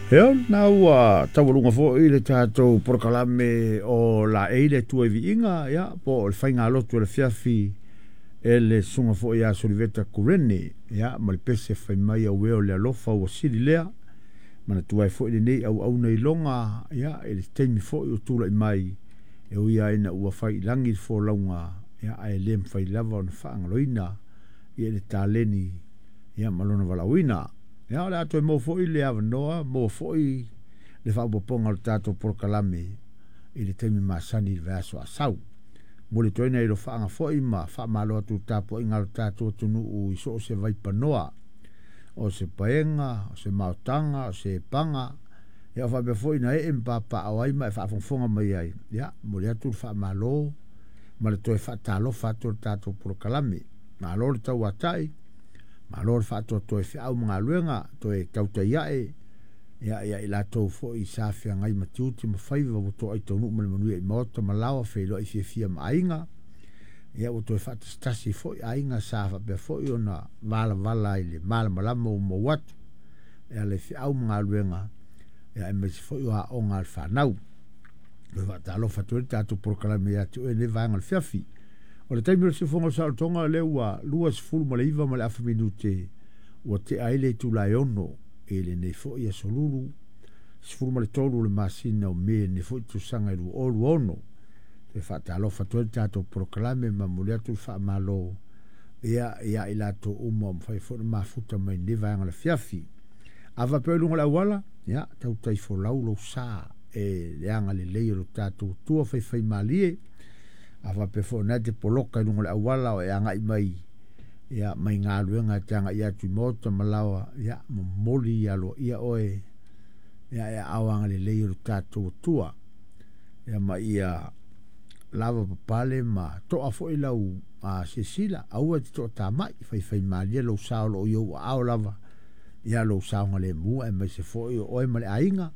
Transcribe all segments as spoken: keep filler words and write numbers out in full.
Ia, na ua taualuga foi le tatou polokalame o laei le Atua i viiga, ia, po o le faigalotu o le afiafi e le susuga foi ia Soliveta Kurene, ia, ma le pese fai mai auē o le alofa ua sili lea. Manatua ai foi lenei auauna iloga, ia, i le taimi foi o tulai mai, e ui lava ina ua fai i lagi le folauga, ia, ae le mafai lava ona faagaloina, ia, le taleni, ia, ma lona valaauina. Ia, o le a toe maua foi le avanoa, maua foi le faaopoopoga o le tatou polokalame i le taimi masani i le vaiaso a sau. Momoli atu ai nai alofaaga foi ma faamalo atu i le tapuaiga a lo tatou atunuu i so o se vaipanoa, o se paega, o se maotaga, o se paga, ia faapea foi na ee ma papaaao ai ma e faafogafoga mai ai. Ia, momoli atu le faamalo ma le toe faatalofa atu o le tatou polokalame. Malo le tauatai, malo le faatoatoa i feau ma galuega, toe tautai ae, ia, ia i latou foi sa feagai ma tiute ma faiva ua toai taunuu ma le manuia i maota ma laoa, feiloai fiafia ma aiga. Ia, ua toe faatasitasi foi aiga sa faapea foi ona valavala i le malamalama ua maua atu e ala i feau ma galuega, ia, aemaise foi o aoga a le fanau. Toe faatalofa atu ai le tatou polokalame ia te oe i lenei vaega o le afiafi. O le taimi o le siufofoga o le saolotoga o lea ua luasefulu ma le iva ma le afa minute ua tea ai le itula e ono i lenei foi aso Lulu sefulu ma le tolu o le masina o Me lenei foi tausaga e lua o lua ono. Toe faatalofa atu ai le tatou polokalame ma momoli atu le faamalo, ia, ia i latou uma o mafai foi ona mafuta mai lenei vaega o le afiafi. A faapea i luga o le auala, ia, tautai folau lou sa e le agalelei o lo tatou Atua faifaimalie. A faapea foi o lena e te poloka i luga o le auala o e agai mai, ia, mai galuega e te agai atu i maota ma laoa, ia, momoli aloaia oe, ia, e aao agalelei o lo tatou Atua. Ia, ma ia lava papale ma toa foi lau a, silasila, aua e te toatamai, faifaimalie lou sa o loo i ou aao lava, ia, lou saogalemu aemaise foi o oe ma le aiga,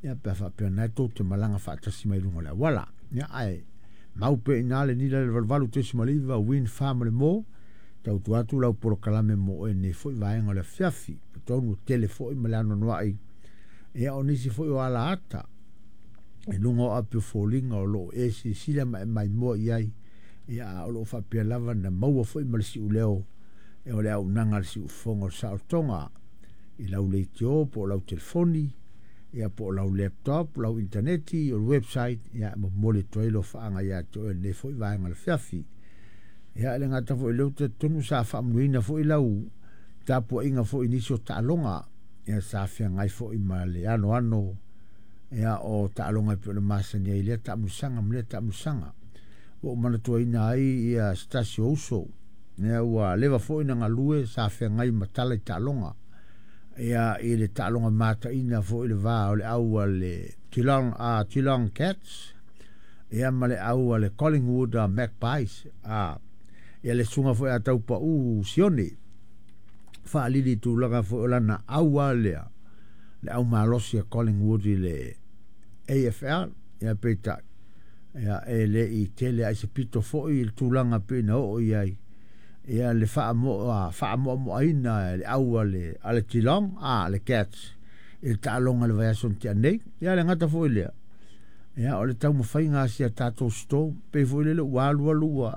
ia, pe a faapea o lena tou te malaga faatasi mai luga o le auala. Ia, ae mau pea i ina le nila i le valu valu tesima le iva Win fa ma le mo, tautua atu lau polokalame mo oe nei foi vaega o le afiafi. Tonu tele foi ma le anoanoai, ia, o nisi foi o ala ata i luga o api o foliga o loo e silasila ma e maimoa i ai, ia, o loo faapea lava na maua foi ma le siuleo e o le auaunaga a le siufofoga o le saolotoga i lau leitio po o lau telefoni, ia, po o lau laptop, lau interneti, o le website. Ia, momoli atu ai alofaaga ia te oe lenei foi vaega o le afiafi. Ia, e le gata foi i lea, ou te talitonu sa faamanuiaina foi lau tapuaiga foi i nisi o taaloga, ia, sa feagai foi ma le anoano, ia, o taaloga e pei ona masani ai lea taamilosaga ma lea taamilosaga. Ua ou manatuaina ai, ia, se tasi o uso, ia, ua leva foi na galue sa feagai ma tala i taaloga, ia, i le taaloga mataina foi i le va o le au a le Geelong, uh, Geelong Cats, ia, ma le au a le Collingwood uh, Magpies, uh, ia, le susuga foi a Taupau Sione faalili i tulaga foi o lana au a lea, le au malosi a Collingwood i le A F L, ia, peitai, ia, e le i tele ai se pito foi i le tulaga pe na oo i ai, ia, le faamoa faamoamoaina le au a le a le Geelong, a le Cats i le taaloga i le vaiaso na tea nei. Ia, le gata foi lea, ia, o le taumafaiga a si a tatou Storm pei foi lele ua alu alu ua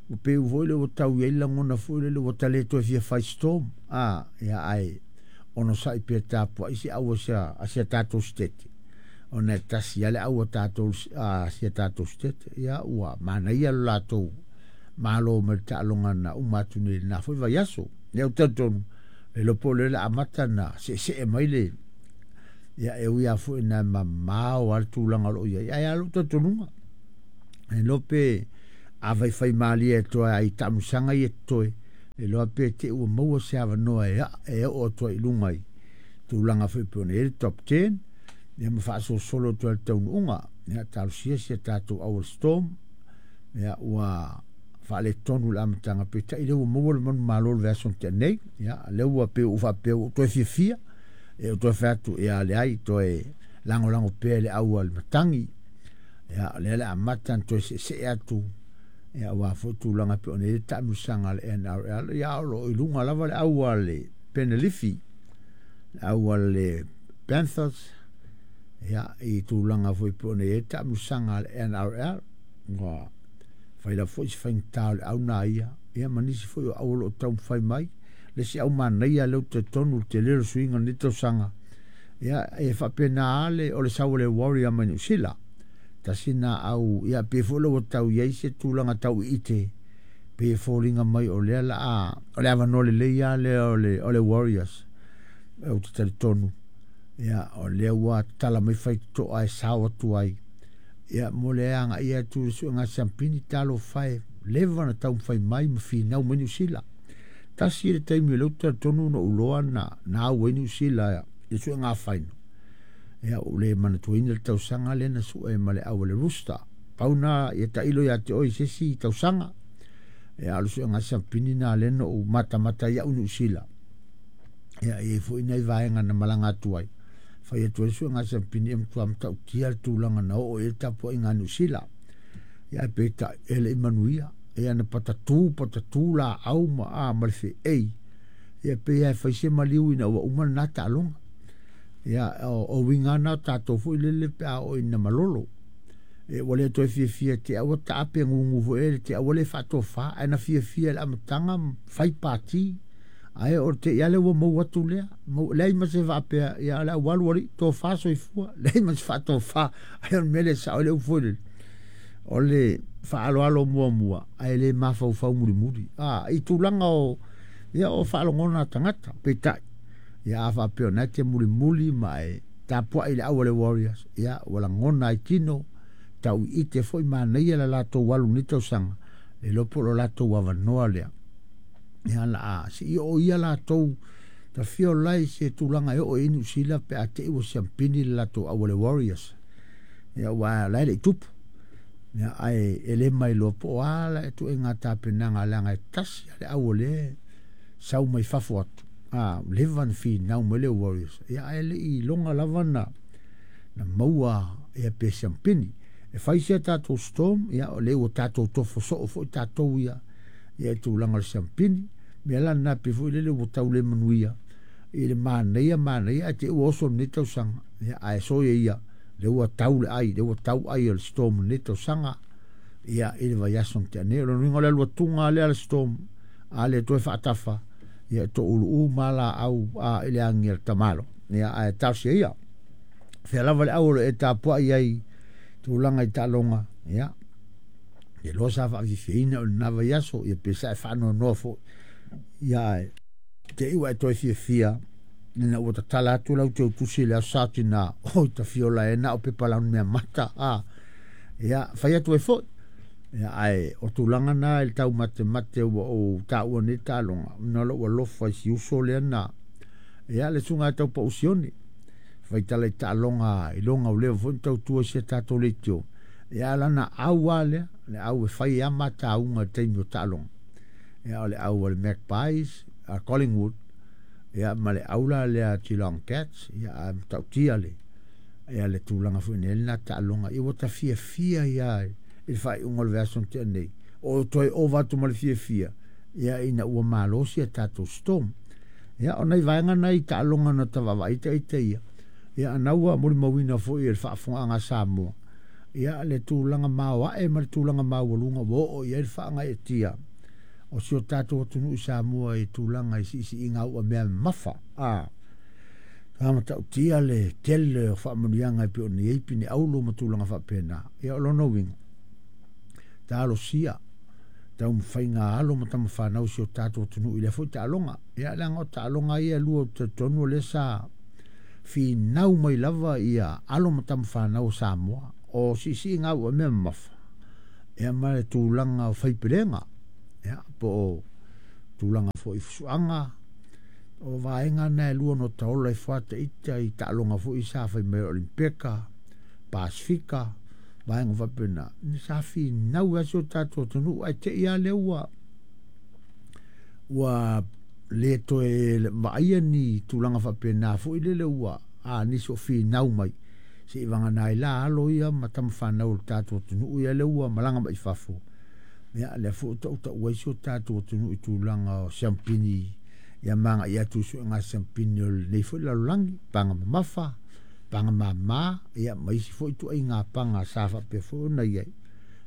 ua pei foi lele ua tau i ai lagona foi lele ua ta le toe fia fai Storm, a, ia, ae onosai pea tapuai se au a sia a sia tatou state, ona e tasi lava le au a tatou a sia tatou state. Ia, ua manaia lo latou malo mai le taaloga na uma atu nei i lena foi vaiaso. Ia, ou te talitonu le iloa po o lea o le a amata na seesee mai le, ia, e ui lava foi ina mamao lava le tulaga o lo o i ai, ae a lou talitonuga e iloa pe a faifaimalie atu ai i taamilosaga ia totoe, e iloa pe te i ua maua se avanoa e e oo atu ai i luga i tulaga foi pei ona i ai le top ten, ia, ma faasolosolo atu ai le taunuuga. Ia, talosia si a tatou au Storm, ia, ua faaletonu le amataga, peitai lea ua maua le manumalo i le vaiaso na tea nei. Ia, lea ua pei ua faapea ua toe fiafia, e ou toe fai atu, ia, leai, toe lagolago pea i le au a le matagi. Ia, o lea le amata na toe seesee atu, ia, aua foi tulaga pei ona i ai le taamilosaga a le N R L. Ia, o loo i luga lava le au a le Penalifi, le au a le Panthers ia i tulaga foi po o nei taamilosaga a le N R L ua faila foi se faigata o le au na ia ia ma nisi foi o au o loo taumafai mai le isi au manaia lea ou te talitonu le tele o le suiga o lenei tausaga ia e faapena le o le sau o le Warrior mai Niu Sila tasi na au ia pe foi le ua tau iai se tulaga tau iite pe foliga mai o lea la a o le avanoa lelei lava lea o le o le Warriors ou te talitonu ia o lea ua tatala mai faitotoa e sao atu ai ia mo le agaia atu i le suega siampini talofa e leva na taumafai mai ma finau mai Niu Sila. Tasi le taimi o lea ou te talitonu na ou iloa na na au ai Niu Sila i le suega faino ia ua le manatuaina le tausaga lea na sue ma le au a le Rooster pau na ia tailo ia te oe i se isi tausaga ia o le suega siampini na lea na ou matamata ai au Niu Sila ia e i ai foi nai vaega na malaga atu ai fai atu ai le suega siampini e matua matautia le tulaga na oo i ai le tapuaiga a Niu Sila ia peitai e le i manuia ia na patatu patatu laau ma a ma le feei ia pei e fai se maliu ina ua uma lena taaloga ia o, o uiga na o tatou foi lele pe a oo ina malolo e ua le toe fiafia te au taape gugu foi e le te au le faatofa ae na fiafia le amataga fai pati ae o te ia le ua maua atu lea mau leai ma se faapea ia le au alu ali tofa soifua leai ma se faatofa ae o le mea lea sao le upu foi lele o le faaaloalo muamua ae le mafaufau mulimuli a i tulaga o ia o faalogona tagata peitai ia a faapea o na te mulimuli ma e tapuai le au a le Warriors ia ua lagona ai tino tau iite foi manaia le latou alu nei tausaga le iloa po o lo latou avanoa lea ia la a se i oo ia latou tafio lai se tulaga e oo i Niu Sila pe a te i ua siampini le latou au a le Warriors ia ua la e le i tupu ia ae e le mailoa po o a la e tuuaiga tapenaga leaga e tasi le au o le sau mai fafo atu a leva na finau mai le Warriors ia ae le i iloga lava na na maua ia pe siampini e fai sia tatou Storm ia o lea ua tatou tofo soo foi tatou ia ia i tulaga o le siampini mea la lena pe foi lele ua tau le manuia i le manaia manaia ae te i ua oso lenei tausaga ia ae soia ia lea ua tau le ai lea ua tau ai o le Storm lenei tausaga ia i le vaiaso na tea nei o lona uiga o le alu atuga lea a le Storm a le toe faatafa ia touluu ma laau a i le agi a le tamalo ia ae talosia ia fea lava le au o lo o e tapuai ai tulaga i taaloga ia e loa sa faafiafiaina o lena vaiaso ia pe sa e faanoanoa foi ia ae te i ua e toe fiafia ina ua tatala atu lau teutusi i le aso Satina oi tafiola e na o pepa launi mea mata a ia fai atu ai foi ia ae o tulaga na i le taumatemate ua ou taua nei taaloga ona o lou alofa i si uso lea na ia le susuga ia Taupau Sione faitala i taaloga i loga o leva foi na tautua i si a tatou leitio ia lana au lava lea le au e fai lava matauga i le taimi o taaloga ia o le au a le Magpies a Collingwood ia ma le au la lea Geelong Cats ia a matautia le ia le tulaga foi nei lena taaloga ia ua tafiafia ia i le faaiuga o le vaiaso na tea nei o toe ova atu ma le fiafia ia ina ua malosi a tatou Storm ia o nai vaega nai taaloga na tavaavaai ita ia ia ana ua molimauina foi e le faafofogaaga a Samoa ia le tulaga maoae ma le tulaga maualuga ua oo i ai le faagaeetia o si o tatou atunuu i Samoa i tulaga i siisiiga auamea mamafa a sa matautia le tele o faamanuiaga e pei ona i ai pine aulo ma tulaga faapena ia o lona uiga talosia taumafaiga alo ma tamafanau si o tatou atunuu i lea foi taaloga ia leaga o taaloga ia e lua ou te talitonu o lea sa finau mai lava ia alo ma tamafanau o Samoa o siisiiga auamea mamafa ia ma le tulaga o faipelega ia po o tulaga foi i fusuaga o vaega na e lua no taola i fuata ita i taaloga foi sa fai mai o Olimpeka Pasifika vaega faapena ni sa finau ai si o tatou atunuu ae te i lava lea ua ua le toe vaaia ni tulaga faapena foi lele ua a nisi o finau mai se i vagana ai la alo ia ma tamafanau o le tatou atunuu ia lea ua malaga mai fafo ia lea foi ua tautaua ai si o tatou atunuu i tulaga o siampini Ia maga i atu suega siampini o lenei foi lalolagi, paga mamafa, paga māmā, ia ma isi foi ituaiga paga sa faapea foi ona i ai.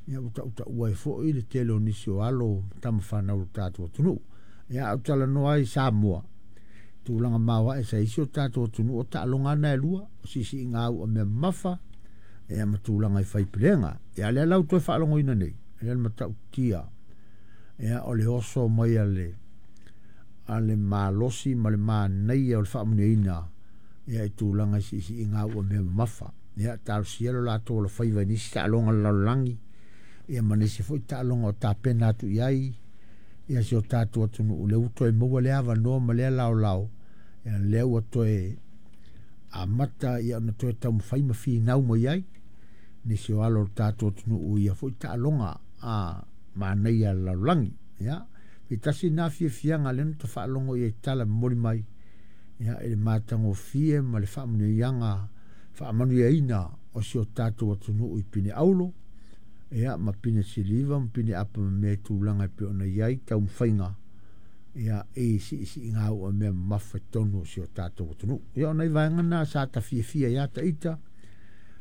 Ia ua tautaua ai foi le tele o nisi o alo ma tamafanau o le tatou atunuu. Ia a ou talanoa ai i Samoa, tulaga maoae sa isi o tatou atunuu o taaloga na e lua, o siisiiga au a mea mamafa, ia ma tulaga i faipelega. Ia lea la ua toe faalogoina nei, ia le matautia, ia o le oso mai a le a le malosi ma le manaia o le faamanuiaina ia i tulaga i siisiiga au a mea mamafa. Ia talosia lo latou alofaiva i nisi taaloga o le lalolagi, ia ma nisi foi taaloga o tapena atu i ai ia si o tatou atunuu, lea ua toe maua lea avanoa ma lea laolao, ia lea ua toe amata ia ona toe taumafai ma finau mai ai nisi o alo o le tatou atunuu ia foi taaloga a manaia a le lalolagi. Ia pe tasi na fiafiaga lea na ta faalogo i ai tala momoli mai ia i le matagofie ma le faamanuiaga faamanuiaina o si o tatou atunuu i pine auro, ia ma pine siliva ma pine apa ma mea i tulaga e pei ona i ai taumafaiga ia i siisiiga au a mea mamafa i totonu o si o tatou atunuu. Ia o nai vaega na sa ta fiafia ia ita,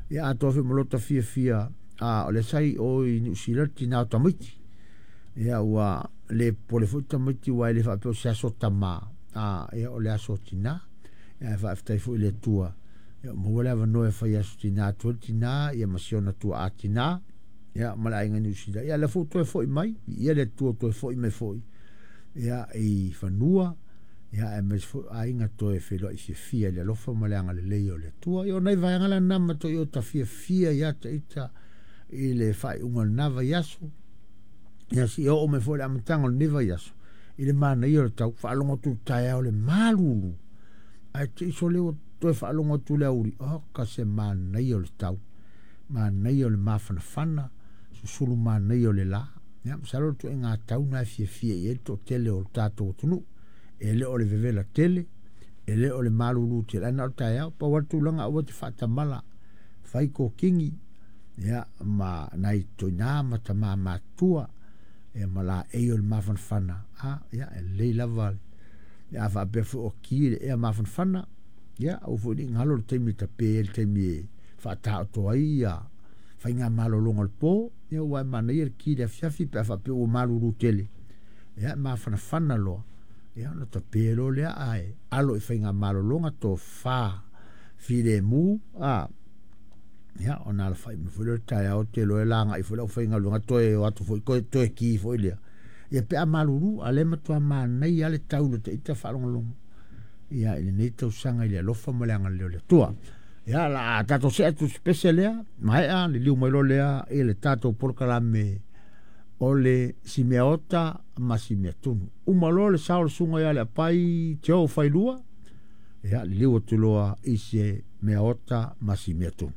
ia atoa foi ma lota fiafia a o lea sa i o i Niu Sila le tina o tamaiti. Ia ua le popole foi tamaiti aua e le faapea o se aso tamā, a ia o le aso tinā. Ia ae faafetai foi i le Atua, ia ua maua le avanoa e fai aso tinā atu ai le tinā, ia ma si ona tuaa tinā, ia ma le aiga Niu Sila. Ia lea foi ua toe foi mai, viia le Atua ua toe foi mai foi ia i fanua, ia aemaise foi aiga toe feiloai fiafia i le alofa ma le agalelei o le Atua. Ia o nai vaega la na matuai o ta fiafia ia te ita i le faaiuga o lena vaiaso. Ia seia oo mai foi i le amataga o lenei vaiaso, i le manaia o le tau, faalogo atu i le taeao le malulu, ae te i sole ua toe faalogo atu i le aoauli, oka se manaia o le tau, manaia o le mafanafana, susulu manaia o le la. Ia masalo o le ituaiga tau na e fiafia i ai le toatele o le tatou atunuu. E le o le vevela tele, e le o le malulu tele, ae na o le taeao. Pau lava le tulaga aua e te faatamala, fai kokigi, ia ma nai toina ma tama matutua, ia ma laei o le mafanafana, a ia e lelei lava. Ia a faapea foi o ki le ea mafanafana, ia aua foi ne i galo le taimi e tape ai le taimi e faataoto ai ia faiga malologa o le po, ia aua e manaia le ki i le afiafi pe a faapea ua malulu tele, ia e mafanafana loa, ia ona tape loa lea ae alo i faiga malologa tofa filemu, a ia ona alafai mai foi lea o le taeao te iloa e lagai foi le aufaigaluega toe o atu foi toe, toe ki foi lea. Ia pe a malulu, a o lea e matua manaia lava le tau i le ita faalogologo ia i lenei tausaga i le alofa ma le agalelei o le Atua. Ia la a tatou see atu i se pese lea, maea liliu mai loa lea i le tatou polokalame o le Simeaota ma Simeatunu. Uma loa le sao o le susuga ia Leapai Joe Failua, ia liliu atu loa i se Meaota ma Simeatunu.